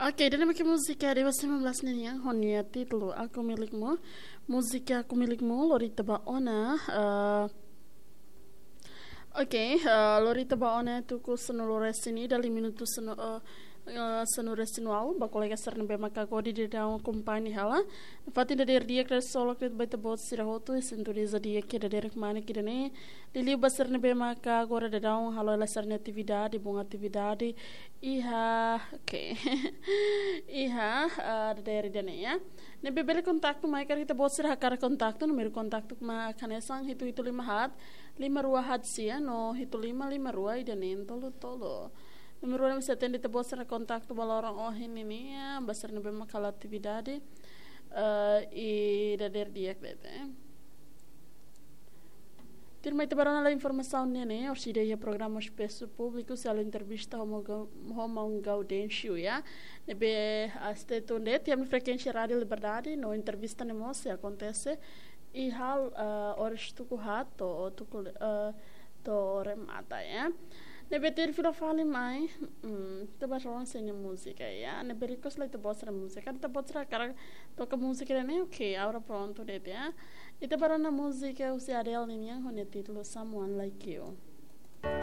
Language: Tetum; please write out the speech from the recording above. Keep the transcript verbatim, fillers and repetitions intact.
Oke, ida-ne'e mak múzika Dewa sembilan belas ninian ho nia títulu Aku Milikmu. Múzika Aku Milikmu, lori ita ba ona. Eh, oke, eh, lori ita ba ona tuku sanulu-resin-ida, liu minutu sanu, eh, eh, sanulu-resin-ualu, ba kolega sira ne'ebé maka agora daudaun akompaña hela. Fatin dadeer di'ak solok de'it ba ita-boot sira hotu, sintoniza di'ak ida-ne'e mak ida-ne'e. Liuliu ba sira ne'ebé maka agora daudaun halo hela sira-nia atividade, boot atividade. Iha, oke. Iha, ah, dadeer ida-ne'e, ya. Ne'ebé bele kontaktu mai, karik ita-boot sira hakarak kontaktu, númeru kontaktu mak hanesan hitu hitu lima haat, lima rua haat sia, no hitu lima lima rua ida neen tolu tolu. Númeru ne'e sei atende ita-boot sira kontaktu ba loron ohin nian, ya, ba sira ne'ebé maka halo atividade, eh, iha dadeer di'ak de'it, eh. Tuirmai ita ba rona lai informasaun ne'e, orsida iha programa Espasu Públiku, sei halo entrevista ho maun Gau-, ho maun Gaudêncio, ya. Ne'ebé, ah, stay tuned, iha ami-nia frekuénsia Rádiu Liberdade, no entrevista ne'e mós sei akontese iha, ah, oras tuku haat to'o tuku, ah, to'o remata, ya. Ne'ebé tuir fila fali mai, mm, ita ba rona sira-nia múzika, ya. Ne'ebé request lai ita-boot sira múzika, ita-boot sira hakarak toka múzika ne'e, oke, agora prontu de'it, ya. Ita ba rona múzika husi Adele nian, ho nia títulu Someone Like You.